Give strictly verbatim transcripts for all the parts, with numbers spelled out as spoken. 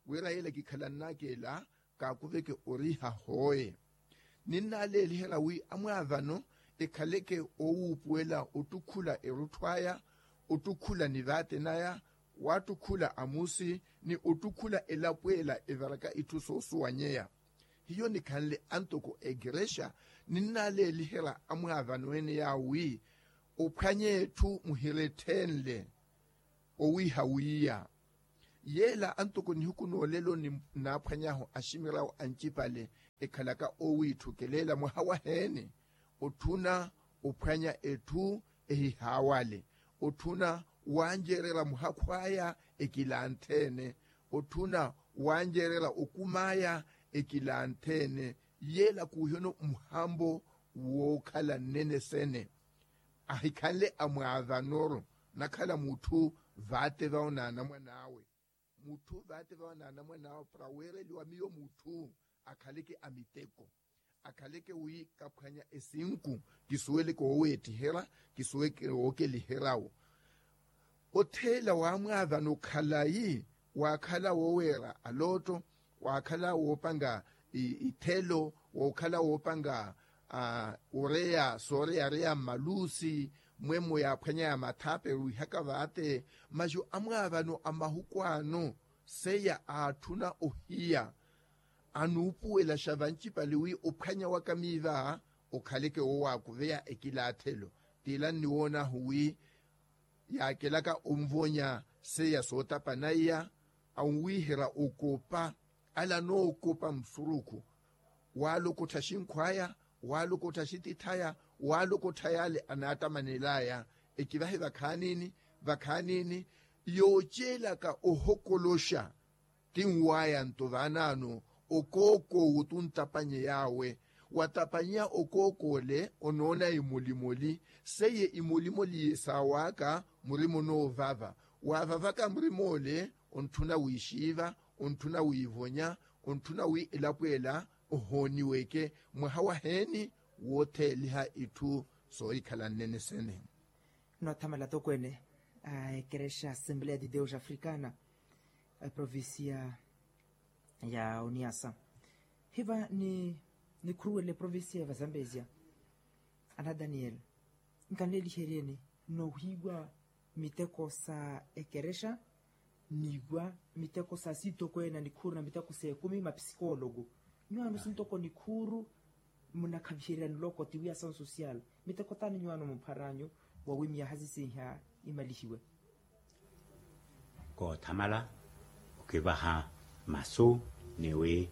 Wira yela kikhalannaka ela kaakuveke oriiha hooye. Ninnaaleeliherya wi amwaavano ekhaleke oowuupuwela ottukhula erutthu aya, ottukhula nivaate naya, waattukhula amusi ni ottukhula elapo ela evaraka itthu soosuwanyeya. Hiyo nikhanle antoko ekerexa, ninnaaleeliherya amwaavano ene yaawo wi ophwanye etthu muhiretthenle owiiha wiiya. Yeela antoko nihuku noolelo ninnaaphwany'ahu aximiryawo ancipale ekhalaka oowiitthukelela mwaha waheene, otthuna ophwanya etthu ehihaawale, otthuna wanjeererya muhakhu aya ekilanthe-ene, otthuna wanjeererya okum'aya ekilanthe-ene. Yeela kuuhyono muhambo wookhala nnene sene. Ahikhanle amwaavano-ro nakhala mutthu vaate vawo n'anamwan'awe. Mutthu vaate vawo n'anamwan'awe para weereliwa miyo mutthu akhaleke a miteko, akhaleke wi kaphwanya esinku kisuweleke wooweettiherya, kisuweleke wookeliheryawo. Otheela waamwaavano khalayi, waakhala wooweera alooto, waakhala woopanga ithelo, wookhala woopanga oreya sooreyareya mmaluusi, mwemmo yaaphwanyaya mathaape wiihaka vaate. Masi amwaavano a mahuku ano seiya aatthuna ohiya anuupuwelaxa vancipale wi ophwanya waka miiva okhaleke woowaakuveya ekilaathelo. Tila nniwoonahu wi yaakelaka onvonya seiya sootapana iya, anwiiherya okopa, ala anookopa musurukhu, waalokottha axinkhu aya, waalokottha axitittha aya, waalokottha yaale anaattamanel'aya. Ekivahe vakhaanini, vakhaanini yooceelaka ohokoloxa tinwaya nto vaanaano okookoowo tuntapanye yaawe. Watapanyeya okookoo'le onoona imolimoli, seiye imolimoli yesaaw'aka murima onoovava. Waavavaka murim'ole, ontthuna wiixiiva, ontthuna wiivonya, ontthuna wi elapo ela ohooniweke. Mwaha waheeni wootheeliha itthu soohikhala nnene sene. Noothamala tokweene a ekerexa assembleya de deus africana, eprovincia ya uniasa, hiva ni nikhuruwele eprovincia ya vazambezia. Ana daniel, nkanleeliheryeni noohiiwa miteko sa ekerexa, niiwa miteko sa sitokweene a nikhuuru na miteko sa ekumi mapisikologo. Nyuwaano sintoko nikhuuru munakhaviherya nloko tiwi asansosiyala. Miteko taani nyuwaano mupharanyu wawi myaha sisiiha imalihiwe? Koothamala okivaha masu ni wi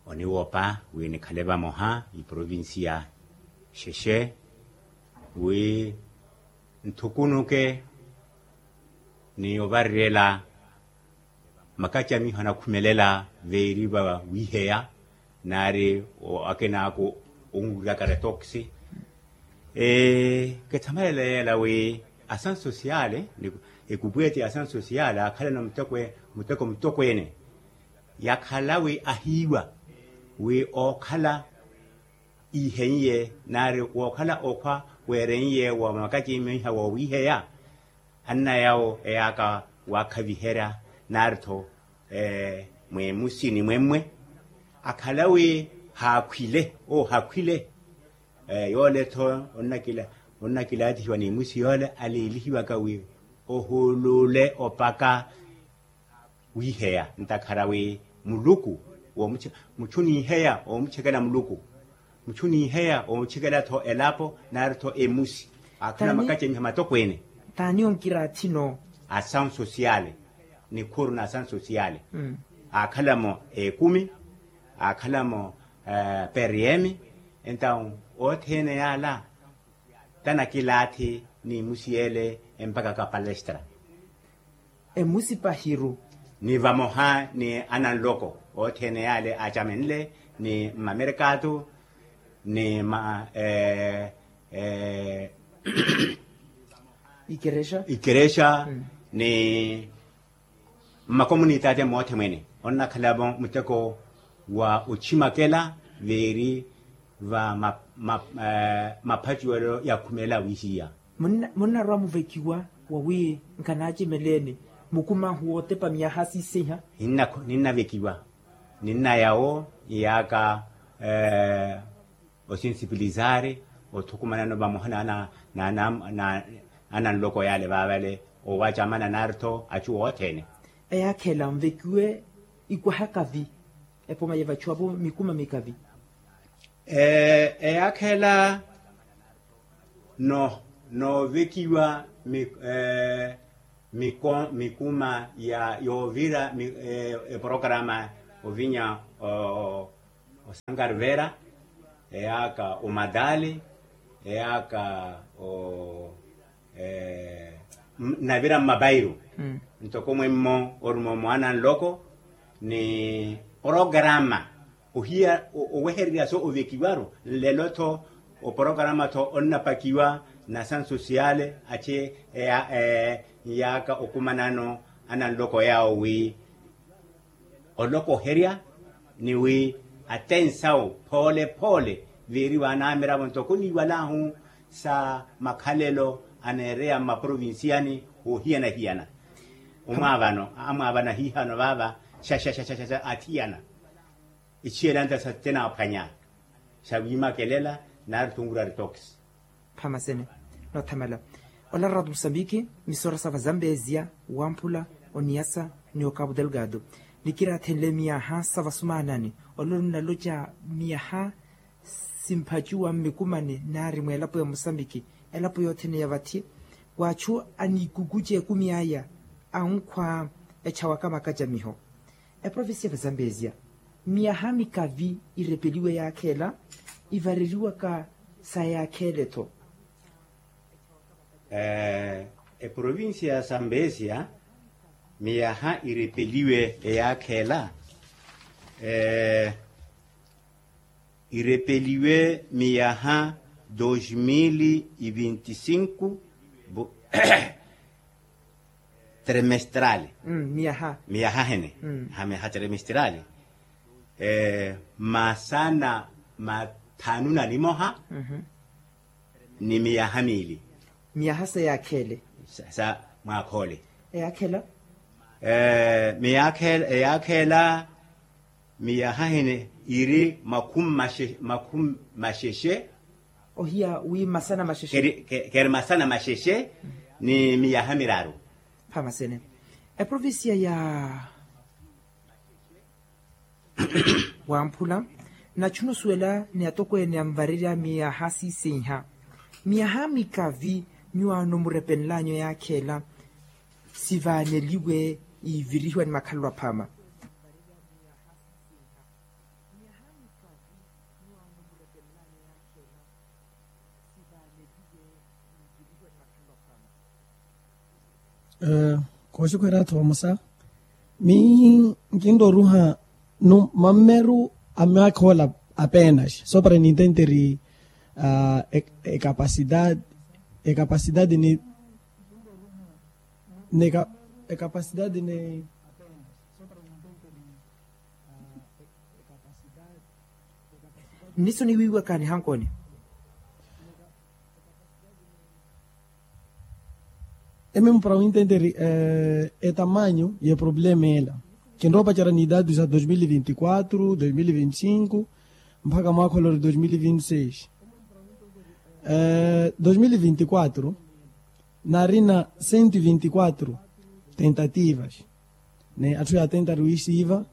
oniwopa wi nikhale vamoha iprovinsiya xexe wi nthukunuke ni ovarirela makacamiho anakhumelela veeri va wiiheya naari akenaaku onwiraka retoksi. Kethamelela yeela wi asansosiyale ekupweeti asansosiyale akhalana muteko mutokweene yakhala wi ahiiwa wi ookhala iiheiye naari wookhala okhwa weereiye wa makacimiha woowiiheya anna yawo eyaaka waakhaviherya naari-tho mweemusi ni mwemmwe akhala wi haakhwile oohakhwile. Yoole-tho onnakilaathihiwa ni musi yoole aleelihiwaka wi ohuulule opaka wiiheya ntakhara wi muluku muchu niiheya oomuchekela muluku muchu niiheya oomuchekela-tho elapo naari-tho emusi. Akhuna makacemiha matokweene taani onkiraathino asansosiyale nikhuuru na asansosiyale aakhala-mo ekumi aakhala-mo periemi entawu othene yaala tanakilaathi ni musiyele empaka ka palestra emusi pahiru ni vamoha ni ananloko othene yaale acamenle ni mmamerekato ni ma ikerexa ikerexa ni mmakomunitaate moothe mwene onnakhalavo muteko wa ochimakela veeri va maphacuwelo ya khumela wihiya munnarwa muvekiwa wawi nkhanaacimeleni Mukuma ahu wootepa miyaha siisehiha. Ninnavekiwa, ninna yawo iyaaka osinsipilisari othukumanano vamoha na ananloko yale vaavale, owaca amana naari-tho achu othene. Eyaakha ela nvekiwe ikwaha kavi. Epoma yevachiwa-vo mikuma mikavi. Eyaakha ela noovekiwa mikuma yoovira eporokrama ovinya osankarivera, eyaaka omadali, eyaaka navira mmapairu. Ntoko mwemmo oruma omwaana nloko ni porokrama ohiya owehererya so ovekiwaru. Nlelo-tho oporokarama-tho onnapakiwa na sansu siyale ache eyaaka okumanano ananloko yawo wi olokoherya ni wi atensawo phoole-phoole viiriwa anamiravo ntoko niiwalahu sa makhalelo aneereya mmaprovinsiyani wohiyana-hiyana. Omwaavano amwaavana hihano vaava shasha athiyana ichiyelanta sa tenaaphwanya sa wiimakelela nari tungura ritox. Phamasene noothamala ola ratu musambiki misora sa vazambezia wamphula oniyasa ni okapu delgado nikiraathenle miyaha sa vasumaanani. Ololo nnaloca miyaha simphacuwa mmikumani nari mweelapo ya musambiki elapo yothene ya vathi. Waachu anikukuce ekumi aya ankhwa echawaka makacamiho. Eprovincia ya vazambezia miyaha mikavi irepeliwe yaakheela ivareriwaka sa yaakheele-tho. Eprovincia ya sambesia miyaha irepeliwe eyaakheela irepeliwe miyaha dos mil e vinte e cinco. Trimestral. Miyaha hene ha miyaha trimestral masana mathanu na nimoha ni miyaha miili. Miyaha sa yaakheele sa mwaakhoole eyaakhela. Miyaakheela miyaha hene iri makhumi maxexe. Ohiya wi masana maxexe keri masana maxexe ni miyaha miraru. Phamasene eprovincia ya wamphula. Nachu nosuwela ni atokweene anvarerya miyaha siisenha miyaha mikavi nyuwaano murepenlanyu yaakheela sivaaneliwe ivirihiwa ni makhalelo aphama. Kooxukhwera athu vamosa mi nkinroruha mammeru a myaakha ola apeenaxi sopra nintenteri ekapasidade ekapasidade ni ekapasidade ni. Nniso niwiiwaka nihankooni. Eme mupara wintenteri etamanyu y'eproblema ela kinrowa opacerya ni idadi sa dos mil e vinte e quatro dos mil e vinte e cinco mpakha mwaakha olori dos mil e vinte e seis. Dos mil e vinte e quatro naarina cento e vinte e quatro tentativas ni atthu yaatentari wiisiiva.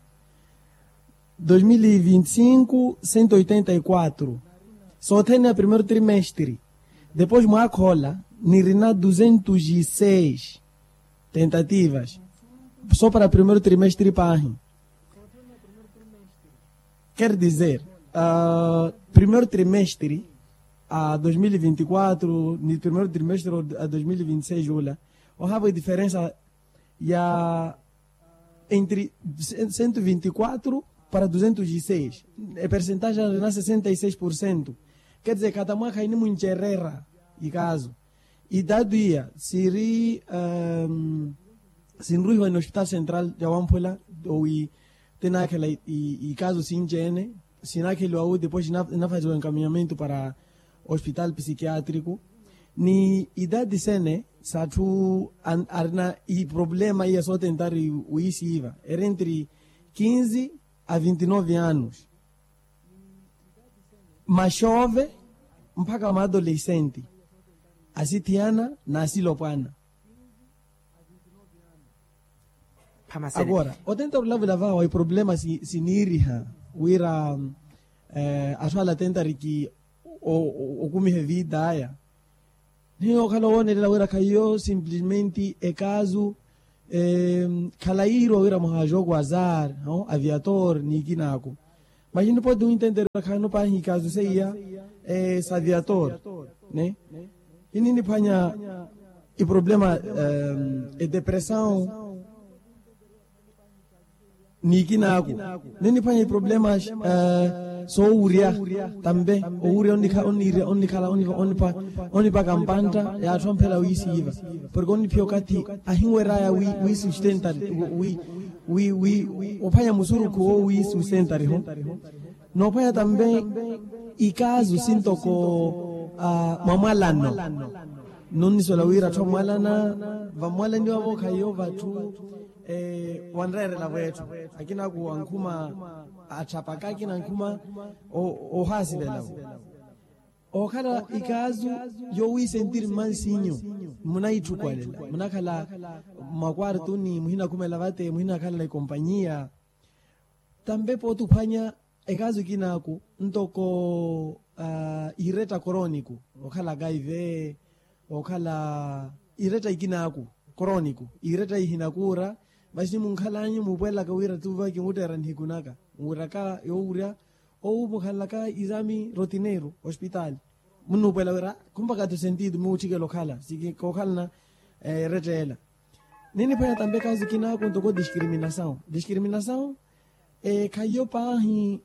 Dos mil e vinte e cinco cento e oitenta e quatro sothene a primeiro trimestre. Depois mwaakha ola nirina duzentos e seis tentativas sopra primeiro trimestre paahi. Quer dizer primeiro trimestre a dos mil e vinte e quatro ni primeiro trimestre a dos mil e vinte e seis ula ohava ediferensa ya entre cento e vinte e quatro para duzentos e seis. Epercentagem na sessenta e seis por cento. Quer dizer kata mwaakha inimwincererya ikazo idadu iya siri sinruhiwa ni hospital central ya wamphula owi tinaakhela ikazo sinci-ene sinaakheliwa wu depois inafaziwa encaminhamento para hospital psiquiatrico. Ni idadi sene s'atthu arina iproblema iya sootentari wiisiiva eri entri kinzi a vinti nove anos. Maxove mpakha maadolesenti asithiyana n'asilopwana. Agora otentari olavula vawa iproblema siniiriha wira atthu ala atentari ki okumiha evitaya. Niyo okhala owoonelela wira khaiyo simplesmente ekasu khalayiiriwa wira mwaha a jogo azar, aviator n'ikinaku. Maxini poti wintenterya khaano paahi ikasu seiya s'aviator. Ininiphwanya iproblema edepressao n'ikinaku. Niniphwanya iproblema soowurya tambe owurya onnikhala onnipaka mpantta y'atthu amphela wiisiiva. Porke onniphiya okathi ahinweraya wi sustentari wi wi wi ophwanya musurukhu wo wi sustentariho. Noophwanya tambe ikasu sintoko mwamwalano. Nonnisuwela wira atthu amwalana vamwalaniwa-vo khaiyo vatthu wanreerela-vo etthu. Akinaku ankhuma atthapaka akina ankhuma ohaasivela-vo. Okhala ikasu yowisentiri mmansinyu munaitthukwalela munakhala mmakwartuni muhinakhumela vate muhinakhalela ikompanyiya. Tambe pooti ophwanya ekasu ikinaaku ntoko iretta koroniku okhala kaive okhala iretta ikinaaku koroniku iretta ihinakuura. Masi munkhalanyu muupwelelaka wira tuva kimuutteera nihiku naka muwiraka yoowurya owu mukhalelaka exami rotineiro ospitaali. Munnuupwela wira khumpaka tu sentido muutthikela okhala sikikokhalana. Eretta ela niniphwanya tambe kazi kinaku ntoko diskriminasawu diskriminasawu. Khaiyo paahi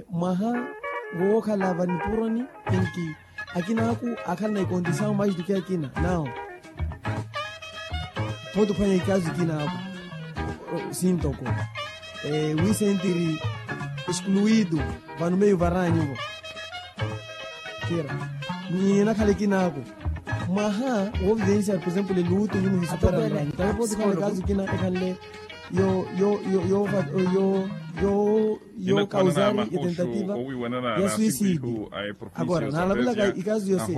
mwaha wookhala vanipuroni enki akinaku akhalana ikondisawu maisituki akina nawo. Pooti ophwanya ikazi kinaku sintoko wisentiri eskluidu vano meio varanyuvo. Kira ni enakhala ekinaaku mwaha woovivensiya por exemplo eluutu nyumu hisupera mranyu tawe pooti ophwanya ekazi kina ekhanle yo yo yo yo yo yo yo yo kauzari etentativa ya suicidi. Agora naalavulaka ikazi yo se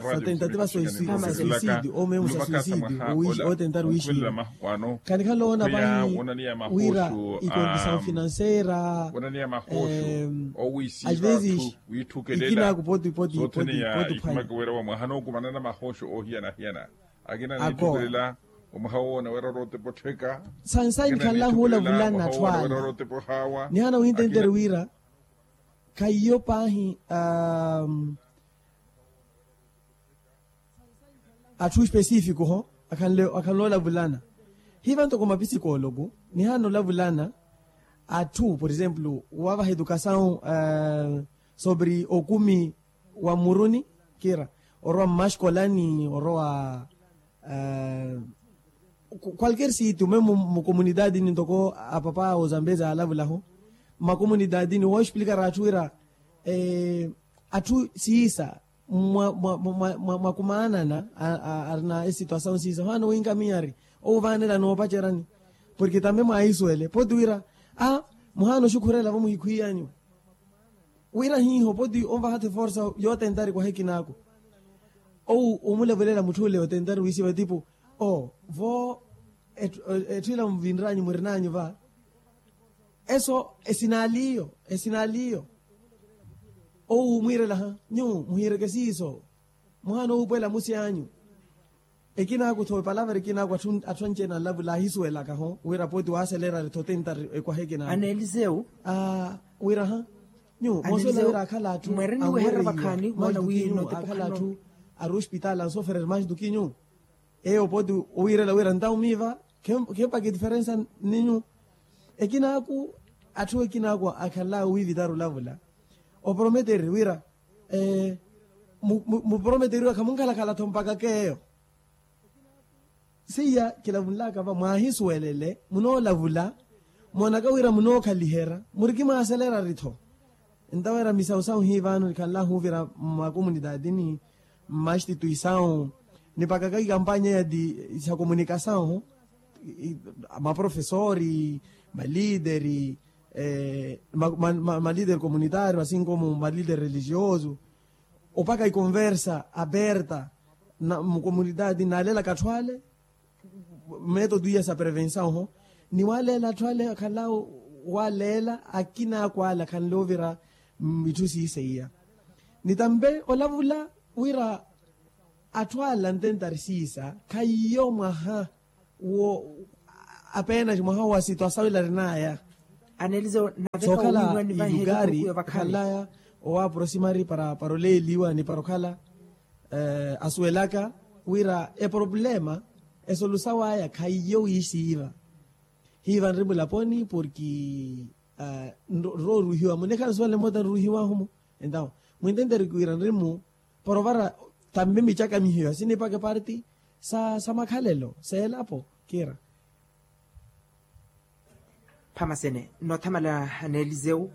sa tentativa suicidi omemu sa suicidi owishi otentari wishi. Khanikhala oona pahi wira ikondisao finansera. Às vezes ikinaku poti poti poti poti ophwanya. Akina niittukelela omwaha woona wira orootepa ottheka. Sansayi nikhanlahu olavulana atthu ala nihana wintentere wira khaiyo paahi atthu específico ho akhanle olavulana. Hiva ntoko mapisikoloku nihana olavulana atthu por exemplo wavaha edukasawu sobre okumi wa mmuruni kira orowa mmaskolani orowa kwalker sitio memu mukomunidadi ni ntoko apapa ozambezi alavulahu mmakomunidadi ni woosplikara atthu wira atthu siisa mwa mwa mwa mwa mwa mwa kumaanana arina esituasawu siisa ohaana owinkamiya ari owu vaanela noopacerani porke tambe mwaahisuwele poti wira a muhaana oxukhurela vo muhikhwiyanyu wira hiiho poti onvaha-tho eforsa yootentari kwaha ekinaaku. Owu omulevelela mutth'ule otentari wiisiva tipu o vo etthu ila muvinranyu murinanyu va eso esinaliyo esinaliyo. Owu mwiirelaha nyu muhiireke siiso muhaana owuupwela musi anyu. Ekinaaku-tho epalavara ekinaaku atthu anci-ene anlavula aahisuwelaka-ho wira pooti waaselerari-tho tentari ekwaha ekinaaku aneeliseu wira-ha nyu moosuwela wira akhala atthu anweiya maisitukinyu akhala atthu ari ospitaali ansofereri maisitukinyu. Eyo pooti owiirela wira ntawu miiva khempaka etiferensa ninyu. Ekinaaku atthu ekinaaku akhalaya owiivitari olavula oprometereri wira muprometeriwa khamunkhalakhala-tho mpaka k'eyo. Seiya kilavunlaka va mwaahisuwelele munoolavula moonaka wira munookhaliherya murikimwaaselerari-tho. Entaweera misausau hii vano nikhanlahu ovira mmakomunitaatini, mmastituisawu, nipakaka ikampanya ya ti sa komunikasawu, maprofesori, malideri, malideri komunitario asinkomu malideri religioso, opaka ikonversa aperta, mukomunitaatini nalelaka atthu ale, metodo iya sa prevensawu ho, ni waleela atthu ale akhala waleela akina akwala akhanle ovira mmitthu siisa iya. Nitampe olavula wira atthu ale antentari siisa khaiyo mwaha wo apenaci mwaha wa situasawila arinaya. Sookhala ilukari okhalaya owaprosimari para oleeliwa ni para okhala asuwelaka wira eproblema esolusawa aya khaiyo wiisiiva. Hiiva nri mulaponi porki nrooruhiwa munekhala nsuwale mmoota nruhiwahu-mo. Entawo mwintenteri kiwira nri-mu porovara tambi micakamihiwa sinipaka eparti sa makhalelo seelapo kiira. Phamasene noothamala neelizewu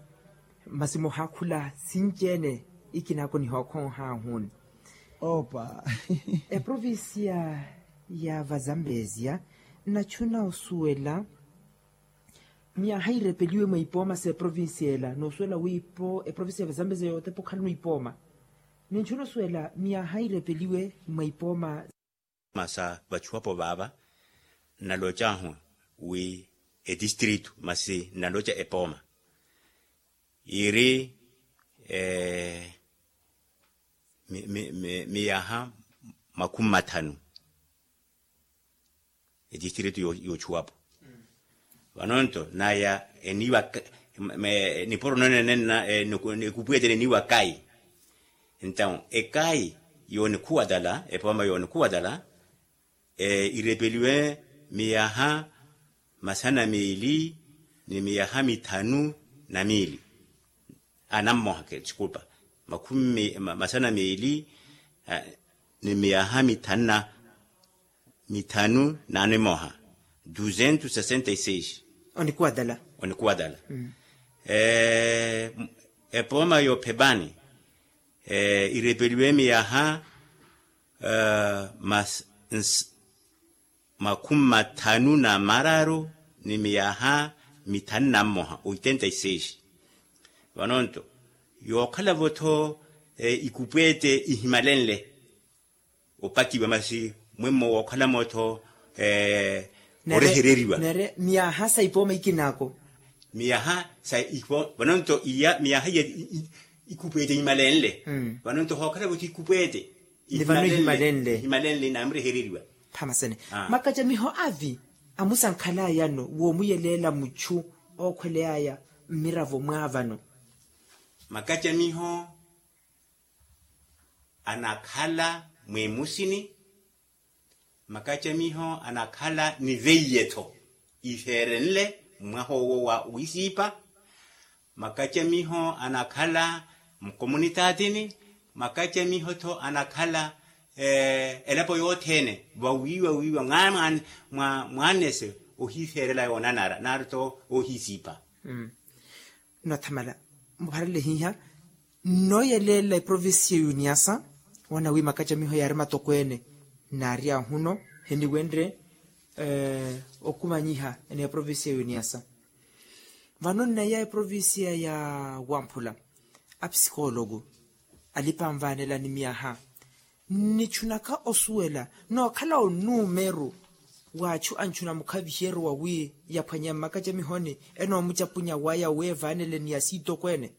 masi muhaakhula sinci-ene ikinaako nihookhonha ahuni. Opa. Eprovincia ya vazambezia nnachuna osuwela miyaha irepeliwe mwa ipooma sa eprovincia ela noosuwela wi ipo eprovincia ya vazambezia yootepa okhala nwipooma. Ninchuna osuwela miyaha irepeliwe mwa ipooma sa vachuwapo vaava nnalocahu wi etistritu masi nnaloca epooma iri miyaha makhumi mathanu. Etistritu yoochuwapo vanonto naya eniwa nipuro nonenenna ekupwetele eniwa kayi. Entawu ekayi yoonikhuwatala epooma yoonikhuwatala irepeliwe miyaha masana meeli ni miyaha mithanu na miili. Anammoha ke disculpa makhumi masana meeli ni miyaha mithanu na mithanu na nimoha. Duzentu sesenta e seis. Onikuwatala. Onikuwatala. Epooma yoophepani irepeliwe miyaha makhumi mathanu na mararu ni miyaha mithanu na mmoha oitenta e seis. Vanonto yookhalavo-tho ikupwete ihimalenle opakiwa masi mwemmo wookhalamo-tho orehereriwa. Miyaha sa ipooma ikinaako. Miyaha sa ipooma vanonto iya miyaha iya ikupwete imalenle. Vanonto hookhalavo-tho ikupwete ni vano ihimalenle. Ihimalenle namurehereriwa. Phamasene makacamiho avi amusankhalayano woomuyeleela muchu ookhweleyaya mmiravo mwaavano. Makacamiho anakhala mwimusini. Makacamiho anakhala ni veiye-tho iveerenle mmwaha owo wa wisiipa. Makacamiho anakhala mukomunitaatini. Makacamiho-tho anakhala elapo yothene vawiiwa wiiwa mwaanese ohiiferela yoonanara nari-tho oohisiipa. Nnothamala mupharele hiiha nnooyeleela eprovincia ya uniasa. Wana wi makacamiho yaari matokweene naari ahuno hiniwenre okumanyiha ni eprovincia ya uniasa. Vano nneya eprovincia ya wamphula apsikologu alipanvanela ni miyaha nnichunaka osuwela nookhala onumeru wa achu anchuna mukhaviheryo wawi yaphwanya mmakacamihoni enoomucapunya waya weevanele ni asiitokweene.